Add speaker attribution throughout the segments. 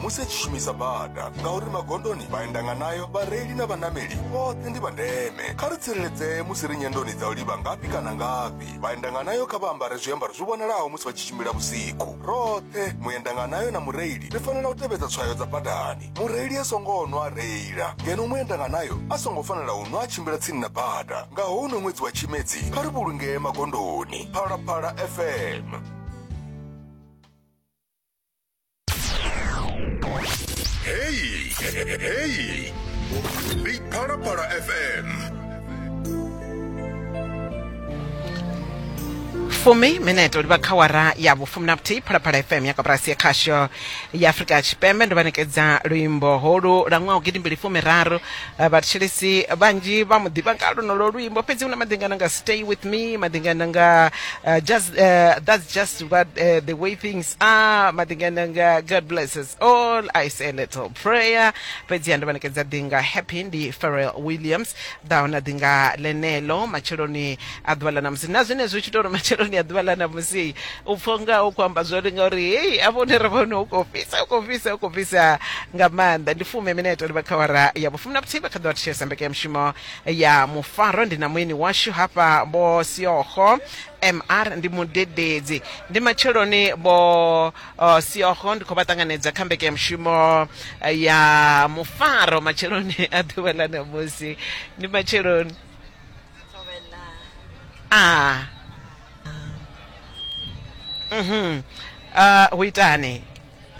Speaker 1: musi a tshi shumisa bada, ngauri magondoni vhaendanganayo, vhareili na vhanameli vhoṱhe ndi vha ndeme. Kha ri tsireledzee musi ri nyendoni dza u livha ngafhi kana ngafhi. Vhaendanganayo kha vha ambare zwiambaro zwi vhonalaho musi vha tshi tshimbila vhusiku. Roṱhe, muendanganayo na mureili, ri fanela u tevhedza tswayo dza badani. Mureili a songo nwa a reila, ngeno muendanganayo a songo fanela u nwa a tshimbila tsini na bada. Nga houno ṅwedzi wa Tshimedzi, kha ri vhulungee magondoni. Phalaphala FM. Hey, hey, ndi Phalaphala FM.
Speaker 2: Fumi minete livha kha wara ya vhufumi na vhuthihi. Phalaphala FM ya koporasi ya khasho ya Afrika Tshipembe. Ndo vha nekedza luimbo holu lwa ṅwaha 2013. Vhathetshelesi vhanzhi vha mu ḓivha nga lonolo luimbo, fhedzi hu na maḓingana nga Stay With Me, maḓingana nga just that's just what the way things are, maḓingana nga God Bless Us All, I Say a Little Prayer. Fhedzi ndo vha nekedza ḓinga Happy, ndi Pharrell Williams ḓaho na ḓinga ḽenelo matsheloni a ḓuvha ḽa ṋamusi. Na zwenezwo tshi tou uri matsheloni a ḓuvha ḽa ṋamusi u pfha unga u khou amba zwone, ngauri hei afho hune ra vha hone hu khou fhisa, hu khou fhisa, hu khou fhisa nga maanḓa. Ndi fume minete livha kha awara ya vhufumi na vhuthihi. Vha kha ḓi vha thetshelesa mbekanyamushumo ya Mufaro. Ndi na mueni washu hafha, Vho Siogo MR, ndi mudededzi. Ndi matsheloni Vho Siogo, ndi khou vha ṱanganedza kha mbekanyamushumo ya Mufaro matsheloni a ḓuvha ḽa ṋamusi. Ndi matsheloni. Ah. Mhm. Hu itani?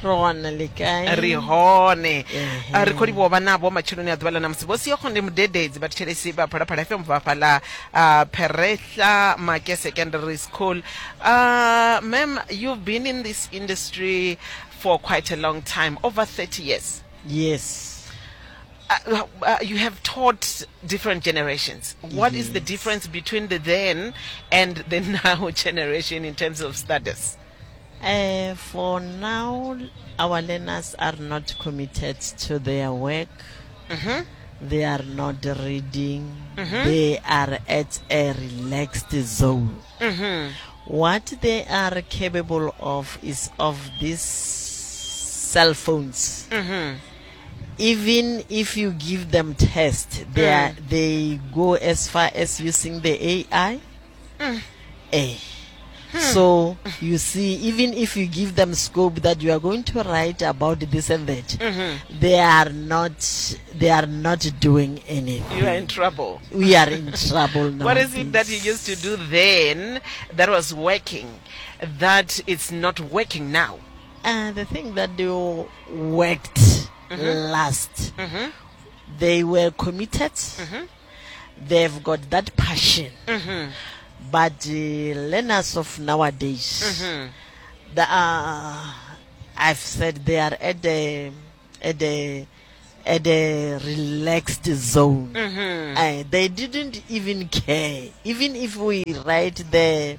Speaker 3: Ro wana le kae?
Speaker 2: Ri hone. Ri khou livhuwa vha navho matsheloni a ḓuvha ḽa ṋamusi. Vho Siokho ndi mudededzi, vhathetshelesi vha Phalaphala FM bva fhaḽa Pherehla Make Secondary School. Ma'am, you've been in this industry for quite a long time, over 30 years.
Speaker 3: Yes.
Speaker 2: You have taught different generations. What is the difference between the then and the now generation in terms of studies?
Speaker 3: For now, our learners are not committed to their work. They are not reading. They are at a relaxed zone. What they are capable of is of these cell phones. Even if you give them test, they go as far as using the AI. So you see, even if you give them scope that you are going to write about this and that, they are not doing anything.
Speaker 2: You are in trouble.
Speaker 3: We are in trouble now.
Speaker 2: What is it that you used to do then that was working, that it's not working now?
Speaker 3: The thing that they worked last, they were committed. They've got that passion. But the learners of nowadays, I've said they are at a relaxed zone. They didn't even care. Even if we write the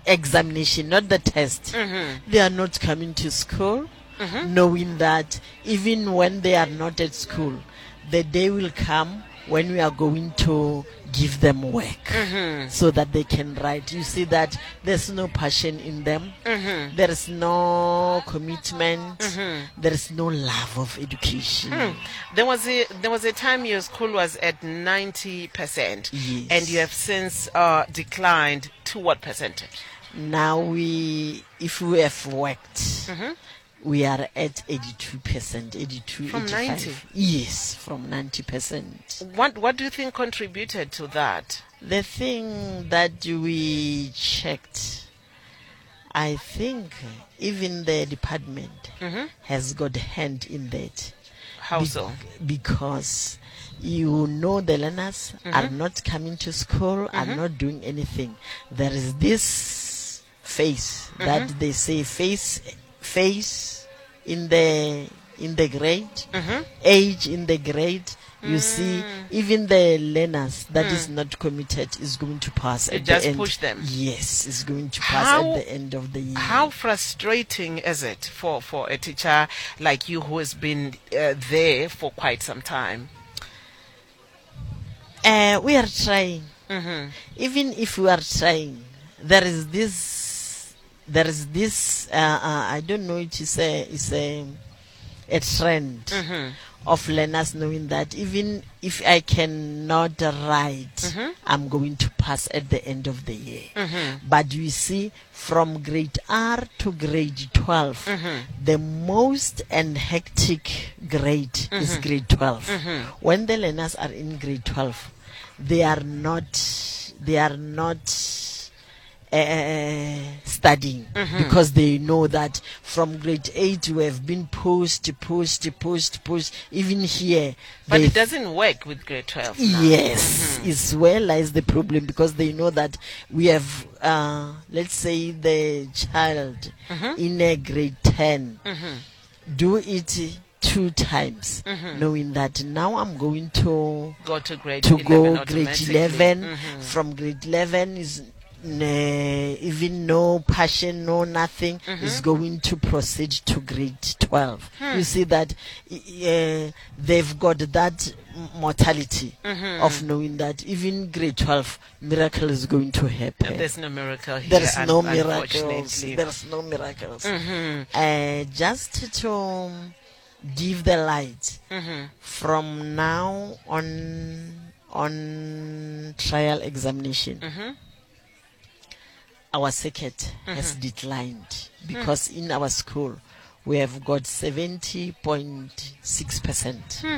Speaker 3: examination, not the test, they are not coming to school, knowing that even when they are not at school, the day will come when we are going to give them work so that they can write. You see that there's no passion in them. There is no commitment. There is no love of education.
Speaker 2: There was a time your school was at 90%.
Speaker 3: Yes.
Speaker 2: And you have since declined to what percentage?
Speaker 3: Now if we have worked, we are at 82%, 82,
Speaker 2: From
Speaker 3: 85.
Speaker 2: 90?
Speaker 3: Yes, from 90%.
Speaker 2: What do you think contributed to that?
Speaker 3: The thing that we checked, I think even the department has got a hand in that.
Speaker 2: How so?
Speaker 3: Because you know the learners are not coming to school, are not doing anything. There is this face that they say face in the grade, age in the grade. You see, even the learners that is not committed is going to pass
Speaker 2: You
Speaker 3: at the
Speaker 2: just
Speaker 3: end.
Speaker 2: push them.
Speaker 3: Yes, is going to pass at the end of the year.
Speaker 2: How frustrating is it for a teacher like you who has been there for quite some time?
Speaker 3: We are trying. Even if we are trying, there is this. There is this. I don't know. It is a. It's a. a trend
Speaker 2: Mm-hmm.
Speaker 3: of learners knowing that even if I cannot write,
Speaker 2: Mm-hmm.
Speaker 3: I'm going to pass at the end of the year. But you see, from grade R to grade 12,
Speaker 2: Mm-hmm.
Speaker 3: the most and hectic grade is
Speaker 2: Mm-hmm.
Speaker 3: grade 12. When the learners are in grade 12, they are not they are not studying
Speaker 2: Mm-hmm.
Speaker 3: because they know that from grade 8 we have been pushed pushed pushed pushed even here
Speaker 2: But
Speaker 3: they
Speaker 2: it doesn't work with grade 12. now.
Speaker 3: Yes,
Speaker 2: Mm-hmm.
Speaker 3: it's where lies the problem because they know that we have, let's say, the child
Speaker 2: Mm-hmm.
Speaker 3: in a grade 10 do it two times, knowing that now I'm going to
Speaker 2: Go to grade
Speaker 3: to
Speaker 2: 11
Speaker 3: go grade
Speaker 2: automatically.
Speaker 3: 11.
Speaker 2: Mm-hmm.
Speaker 3: From grade 11 is even no passion, no nothing,
Speaker 2: Mm-hmm.
Speaker 3: is going to proceed to grade 12.
Speaker 2: Hmm.
Speaker 3: You see that they've got that mortality
Speaker 2: Mm-hmm.
Speaker 3: of knowing that even grade 12 miracle is going to happen.
Speaker 2: There's no miracle here.
Speaker 3: There's no miracles.
Speaker 2: unfortunately.
Speaker 3: There's no miracles.
Speaker 2: Mm-hmm.
Speaker 3: Just to give the light
Speaker 2: Mm-hmm.
Speaker 3: from now on trial examination,
Speaker 2: Mm-hmm.
Speaker 3: our circuit has declined because in our school we have got 70.6%.
Speaker 2: Hmm.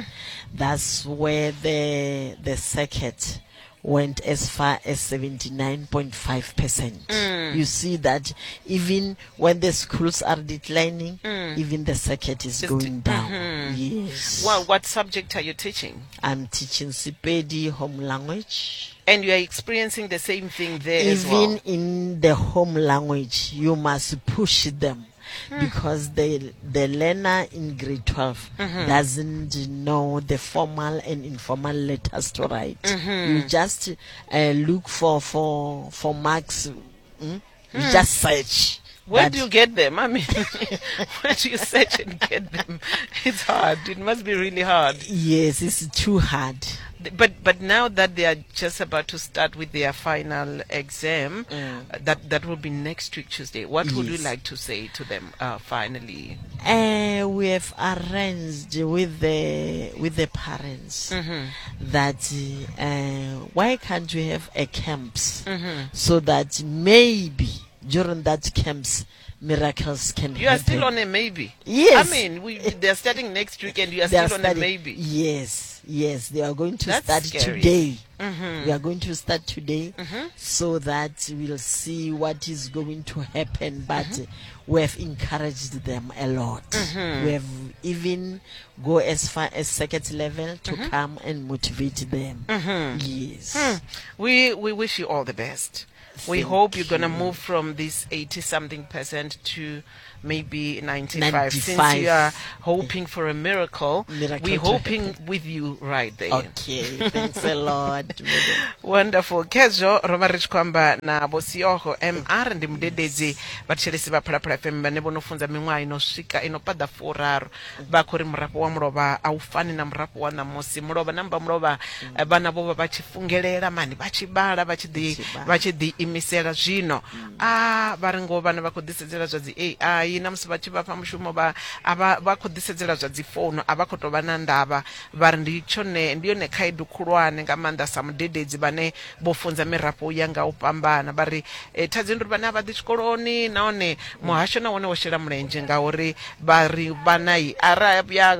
Speaker 3: That's where the circuit went as far as 79.5%.
Speaker 2: Hmm.
Speaker 3: You see that even when the schools are declining, even the circuit is
Speaker 2: Hmm. Just-
Speaker 3: going down. Yes.
Speaker 2: Well, what subject are you teaching?
Speaker 3: I'm teaching Sepedi home language.
Speaker 2: And you are experiencing the same thing there as
Speaker 3: Even
Speaker 2: well.
Speaker 3: in the home language, you must push them because the learner in grade 12 doesn't know the formal and informal letters to write. You just look for marks. You just search.
Speaker 2: Where
Speaker 3: That-
Speaker 2: do you get them? I mean, where do you search and get them? It's hard. It must be really hard.
Speaker 3: Yes, it's too hard.
Speaker 2: But now that they are just about to start with their final exam, that will be next week Tuesday. What would you
Speaker 3: Yes.
Speaker 2: like to say to them finally?
Speaker 3: We have arranged with the parents that why can't we have a camps so that maybe during that camps miracles can
Speaker 2: You are
Speaker 3: happen.
Speaker 2: still on a maybe.
Speaker 3: Yes.
Speaker 2: I mean, they are starting next week, and you are
Speaker 3: They are
Speaker 2: still on a
Speaker 3: starting-
Speaker 2: maybe.
Speaker 3: Yes, yes, they are going to
Speaker 2: That's
Speaker 3: start
Speaker 2: scary.
Speaker 3: today. We are going to start today so that we'll see what is going to happen. But we have encouraged them a lot. We have even go as far as second level to come and motivate them. Yes.
Speaker 2: We wish you all the best. We
Speaker 3: Thank
Speaker 2: hope you're going to
Speaker 3: you.
Speaker 2: move from this 80 something percent to maybe 95. Since
Speaker 3: 95.
Speaker 2: you are hoping for a miracle,
Speaker 3: Miracle
Speaker 2: we're
Speaker 3: to
Speaker 2: hoping with you right there.
Speaker 3: Okay, thanks a lot. madam.
Speaker 2: Wonderful. Khezwo ro vha ri tshi khou amba na Vho Siogo MR ndi mudededzi vhathetshelesi vha Phalaphala FM vhane vho no funza miṅwaha ino swika ino paḓa furaru. Vha khou ri murafho wa mulovha a u fani na murafho wa ṋamusi. Mulovha na mba mulovha vhana vho vha vha tshi fungelela mani vha tshi vhala vha tshi ḓi
Speaker 3: tshi vhala.
Speaker 2: vha tshi ḓi imisela zwino. A vha ri ngoho vhana vha khou ḓisedzela zwa dzi AI na musi vha tshi vha fha mushumo vha a vha vha khou ḓisedzela zwa dzi founu a vha khou tou vha na ndavha vha ri ndi tshone ndi yone khaedu khulwane nga maanḓa sa mudededzi vhane vho funza mirafho ya nga u fhambana vha ri thaidzo ndi uri vhane a vha ḓi tshikoloni nahone muhasho na wone wo shela mulenzhe ngauri vha ri vhanai ara ya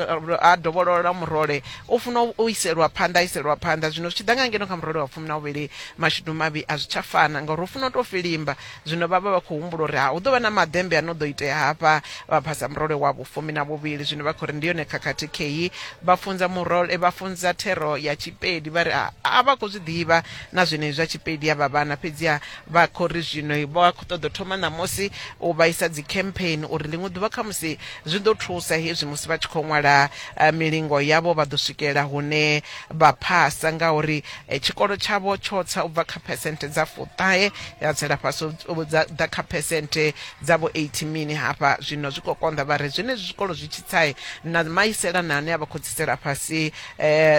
Speaker 2: a dovholola murole u funa u iselwa phanḓa a iselwa phanḓa zwino zwi tshi ḓa nga ngeno kha murole wa 12 mashudu mavhi a zwi tsha fana ngauri u funa u tou filimba zwino vha vha vha khou humbula uri ha hu ḓo vha na maḓembe ano ḓo itea hafha vha phasa murole wa vhu12 zwino vha khou ri ndi yone khakhathi kheyi vha funza murole vha funza thero ya Tshipedi vha ri a vha khou zwi ḓivha na zwenezwi zwa Tshipedi ya vha vhana fhedziha vha khou ri zwino vha khou ṱoḓa u thoma ṋamusi u vhaisa dzi campaign uri ḽiṅwe ḓuvha khamusi zwi ḓo thusa hezwi musi vha tshi khou ṅwala milingo yavho vha ḓo swikelela hune vha phasa ngauri tshikolo tshavho tsho tsa u bva kha phesenthe dza 90. ṱahe ya tsela fhasi u ḓa kha phesenthe dza vho 80 mini hafha. Zwino zwi khou konḓa, vha ri zwenezwi zwikolo zwi tshi tsai na maiselana ane a vha khou tsitsela fhasi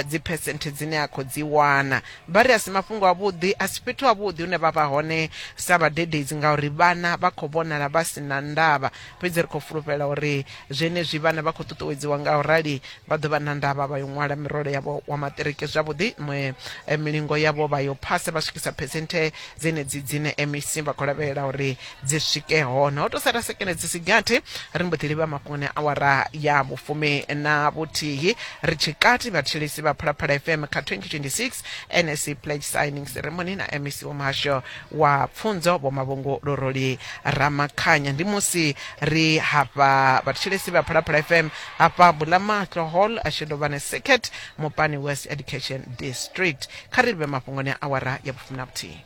Speaker 2: dzi phesenthe dzine a khou dzi wana. Vha ri a si mafhungo avhuḓi, a si fhethu havhuḓi hune vha vha hone sa vhadededzi ngauri vhana vha khou vhonala vha si na ndavha. Fhedzi ri khou fulufhela uri zwenezwi vhana vha khou ṱuṱuwedziwa nga u rali vha ḓo vha na ndavha vha yo ṅwala mirole yavho wa maṱiriki zwavhuḓi, milingo yavho vha yo phasa vha swikisa phesenthe dzenedzi dzine MEC vha khou lavhelela uri dzi swike hone. Ho tou sala sekene dzi si gathi ri mbo ḓi livha mafhungoni a awara ya vhufumi na vhuthihi. Ri tshikati vhathetshelesi vha Phalaphala FM kha 2026 NSC Pledge Signing Ceremony na MEC wa muhasho wa pfunzo Vho Mavhungu Luruli Ramakhanya. Ndi musi ri hafha vhathetshelesi vha Phalaphala FM hafha Bulamahlo Hall Shidovhane Circuit Mopani West Education District. Kha ri livhe mafhungoni a awara ya vhufumi na vhuthihi.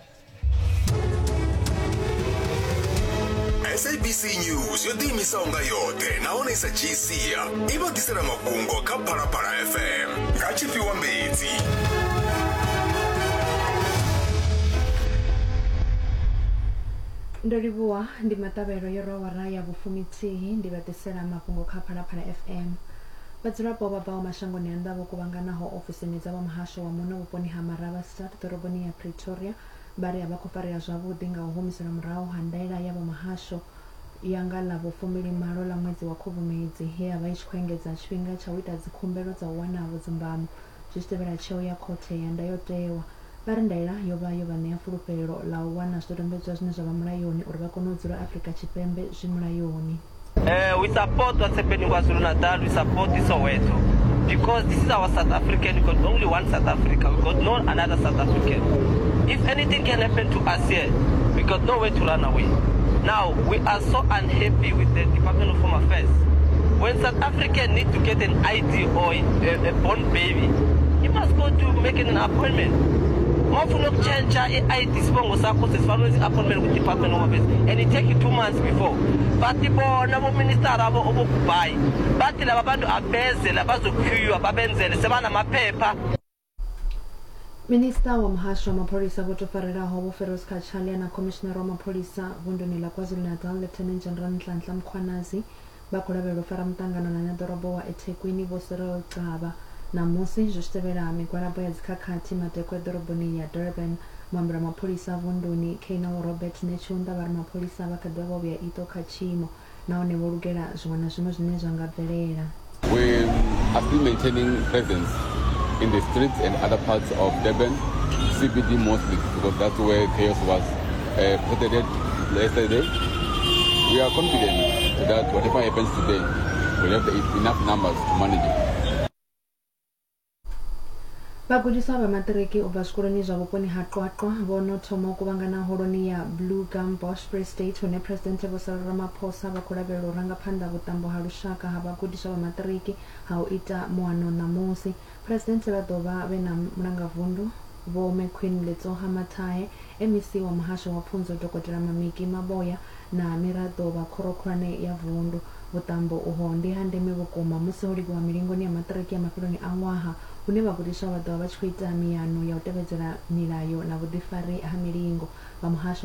Speaker 1: SABC News yo ḓiimisaho nga yoṱhe nahone i sa dzhii sia i vha ḓisela mafhungo kha Phalaphala FM nga tshifhiwa mbedzi.
Speaker 4: Ndo livhuwa ndi maṱavhelo yo rwa awara ya vhufumithihi ndi vha ḓisela mafhungo kha Phalaphala FM. Vhadzulapo vha bvaho mashangoni a nnḓa vho kuvhanganaho ofisini dza vha muhasho wa muno vhuponi ha Marabastad ḓoroboni ya Pretoria vha ri a vha khou farea zwavhuḓi nga u humiselwa murahu ha ndaela ya vha muhasho ya nga ḽa vhufumbili-malo ḽa ṅwedzi wa Khubvumedzi ye ya vha i tshi khou engedza tshifhinga tsha u ita dzikhumbelo dza u wana vhudzumbamo zwi tshi tevhela tsheo ya khothe ya ndayotewa. Vha ri ndaela yo vha yo vha ṋea fulufhelo ḽa u wana zwidodombedzwa zwine zwa vha mulayoni uri vha kone u dzula Afrika Tshipembe zwi mulayoni.
Speaker 5: We support what's happening KwaZulu-Natal, we support the Soweto. Because this is our South African, we got only one South Africa, we got no another South African. If anything can happen to us here, we got nowhere to run away. Now, we are so unhappy with the Department of Home Affairs. When South African need to get an ID or a born baby, he must go to make an appointment. Mawufuna ukutshentsha i-ID isibongo sakho sesifanele wenze i-appointment kwi-Department of Home Affairs and it take you 2 months before. Bathi bona boministara obokubhayi bathi laba bantu abeze la bazoqueuwa babenzele sebanamaphepha.
Speaker 4: Minisiṱa wa muhasho wa mapholisa vho tou farelaho Vho Firoz Cachalia na khomishinari wa mapholisa vunduni ḽa KwaZulu-Natal Lieutenant General Nhlanhla Mkhwanazi vha khou lavhelelwa u fara muṱangano na ṋeḓorobo wa eThekwini Vho Cyril Xaba ṋamusi zwi tshi tevhela migwalabo ya dzikhakhathi madekwe ḓoroboni ya Durban. Muambeli wa mapholisa vunduni Colonel Robert Netshiunda vha ri mapholisa vha kha ḓi vha vho vhea iṱo kha tshiimo nahone vho lugela zwiṅwe na zwiṅwe zwine zwa nga bvelela.
Speaker 6: We are still maintaining presence in the streets and other parts of Durban, CBD mostly, because that's where chaos was perpetrated yesterday. We are confident that whatever happens today, we'll have enough numbers to manage it.
Speaker 4: Vhagudiswa vha maṱiriki u bva zwikoloni zwa vhuponi ha Qwaqwa vho no thoma u kuvhangana holoni ya Blue Gum Bosch Free State hune Presidenthe Vho Cyril Ramaphosa vha khou lavhelelwa u ranga phanḓa vhuṱambo ha lushaka ha vhagudiswa vha maṱiriki ha u ita muano ṋamusi. Presidenthe vha ḓo vha vhe na mulangavundu Vho McQueen Letsoha Mathae, MEC wa muhasho wa pfunzo Dokotela Mamiki Maboya na miraḓo vha khoro khulwane ya vundu. Vhuṱambo uho ndi ha ndeme vhukuma musi ho livhiwa milingoni ya maṱiriki ya mafheloni a ṅwaha hune vhagudiswa vha ḓo vha vha tshi khou ita miano ya u tevhedzela milayo na vhuḓifari ha milingo. Vha muhasho wa